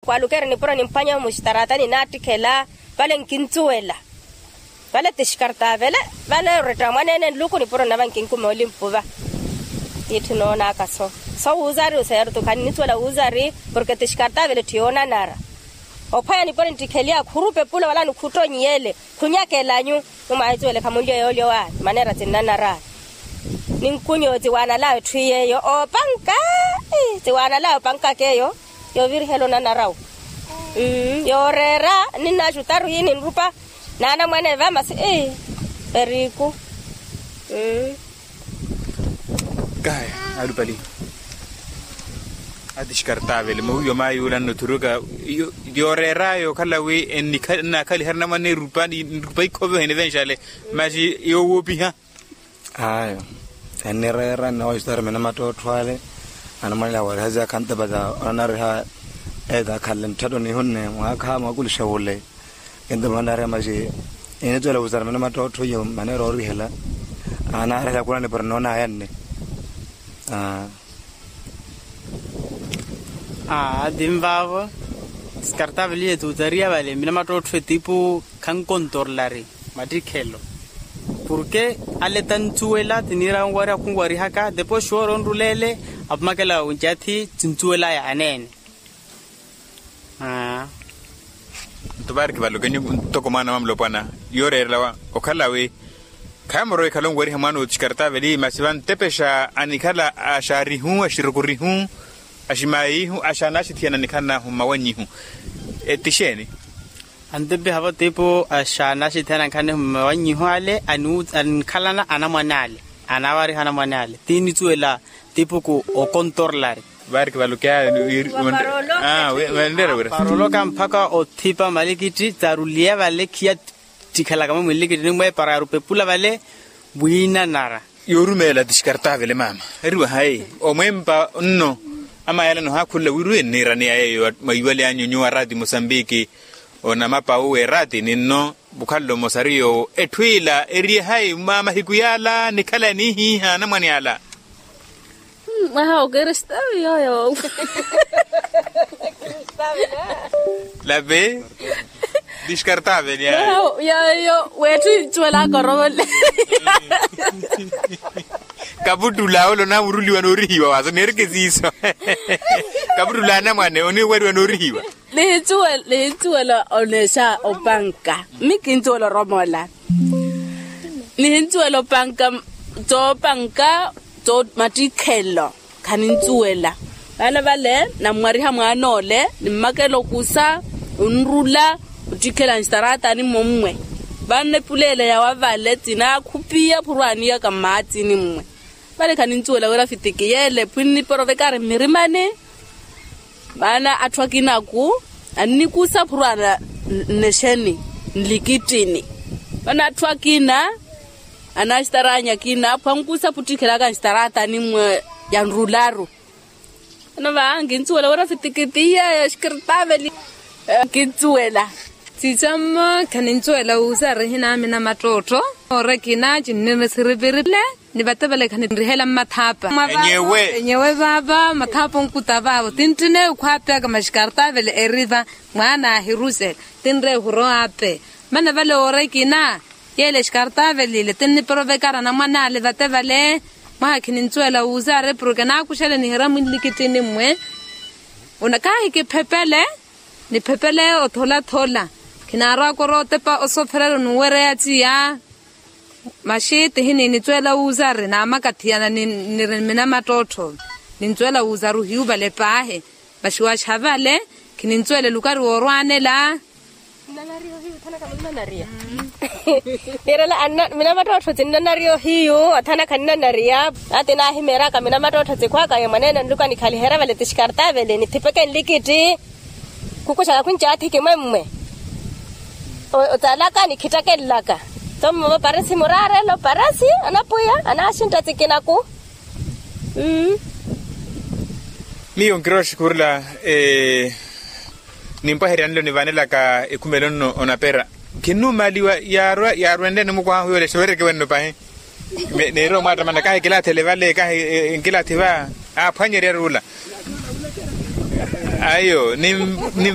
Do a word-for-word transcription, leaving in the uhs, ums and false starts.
Kwalukeri nipuro nimphwanyeho muxitaratani naattikhela. Vale nkincuwela. Vale tixkartavele. Vale oretta mwaneene nluku nipuro nava nkinkume olimpuva. Tiitti noonaka so so wuuzari oseerutu khannicuwela wuuzari. Porke tixkartavele ttiyoonanara. Ophwanya nipuro nittikheliya khurupe pula wala nikhuttonyiyele. Khunyakelanyu. Mumwahicuwele khamunlyo yoolyowa. Maneera cinnanara. Ninkunyo ciwaanalaya etthu yeeyo oopanka. Ciwaanalaya opankaka eyo. Yoovirihela onanarawu. Yooreera. Ninnaxutaru hii ninrupa. Naanamwane vamasi. Periku. Kahi. Alupali. Atixkartavele mawiiwa maayuula nnothuruka. Yooreeraya okhala wi ennaakhaliha arinamwane erupa nrupa ikhove ohene venxale. Masi yoowoopiha. Ayo. Ennireera nnawaxutari mina mattottho ale. Anamwanela wariha ziyakha ntapata onanariha. Eeta akhanle ntthatu nihunne mwaakha mwakulixa wule. Kinto manaari amaci. Enitwela wuzara mene mattottho iyo maneera orihela. Anaarihela kuna nipuri noonaya nne. Aa. Aa tinvaavo. Skartaveliye tuutariya vale mina mattottho etipu. Khankontorlari mattikhelo. Porke ale tantsuwela tiniira onwariha khunwarihaka depois woora onruleele. Apumakela oncathi tintsuwelaya aneene. Nto vaari kivalokenyu ntoko mwaana wa mulopwana. Yooreerela okhala wi khaamorowa ekhala onwariha mwaana otiskartaveli masi vantepexa anikhala axaarihu axirukurihu. Aximaayihu axaanaxithiyana anikhala nahu mmawannyihu. Ti xeeni? Antepexa vatipu axaanaxithiyana anikhala nahu mmawannyihu ale. Anikhalana anamwane ale. Anawariha anamwane ale tinitsuwela. Tipuku okontorlari. Vaari kivalokeya. Paroloka mpakha othipa malikitti tsaruliya vale khiya. Ttikhelaka mwe mwilikitini mwe para yarupa epula vale. Wiinanara. Yoorumeela tixkartavele maama. Eriwa hayi omwempa nno. Amayalano haakhulula wiriwe nniiraneya yeeyo mwayiwale anyu nyuwo araati musambiki. Onamapa uwe eraati ninno. Vukhalelo mosari yoowo etthu ila eriye hayi mwa mahiku yaala nikhala eniihiiha anamwane ala. Mwaha okristawi yooyo. Lape. Diskartaveli yooyo weetthu incuwelaka orovole. Kaputtula ole onaamuruliwa noorihiwa waaso neereke siiso. Kaputtula anamwane oniweriwa noorihiwa. Nihincuwela oneexa opanka. Mmi kincuwela oromola. Nihincuwela opanka. Coopanka. Mattikhelo. Khanincuwela. Vana vale nammwariha mwaan'ole nimmakela okusa. Onrula. Ottikhela nxitaratani mmommwe. Vana epuleela yawa vale tinaakhupiya phurwaaniyaka mmaatsini mmwe. Vale khanincuwela wira fitiki yeele phwinniporovekari mmirimani. Maana atthu akinaku annikusa phurwaana nnexeni nlikittini. Maana atthu akina anaxitaraanyi akina aphwankusa phuttikhelaka nxitaraatani mmwe. Yanrularu. Vano va nkincuwela wira fitiki tiya yaxikirtaveli. Nkincuwela. Sixammo khanincuwela wuusa arihina amina mattottho. Oora ekina cinnirina siripiripile. Ni vate vale khanirihela mmathapa. Enyewe vaava mathapa onkuta vaavo tinttine okhwaapeyaka maxikaartavele eriva. Mwaana ahirusela tinre ehuro aape. Mana vale oora ekina yeele exikaartavelile tinniporovekara anamwane ale vate vale. Mwaha khinintsuwela wuuza ari porke naakuxele nihira mwinlikittini mmwe. Una kahi kiphepele. Niphepele otholathola. Khinaarwaka orootepa osophererya onuwereya tiya. Maxi tihi niinitweela wuuzari naamakathiyana niri mina mattottho. Nintweela wuuzari ohiyuvala epaahi. Maxi waxavale. Khinintweela elukari woorwaanela. Niirela mina mattottho tinnanariya ohiyu. Athana khananariya. Ati naahimeeraka mina mattottho tikhwaka ye mwaneene nluka nikhaliherya vale tixkartavele nithipeke nlikitti. Khukuxaka khwinci athiki mwemmwe. Otsalaka nikhittakelelaka. Tho mmovo parisi muraarelo parisi anapwiya anaaxintta tsikinaku. Miyo nkirooxi khurula. Nimpwaherya nlo nivanelaka ekhumelo nno onapera. Khinnumaaliwa yaarwenle nimukwaha huyo lexe weereke wenno pahi. Neeryo omwaattamana kahi kilaathele vale kahi nkilaatthi va. Aaphwanyerya ruula. Ayo ni.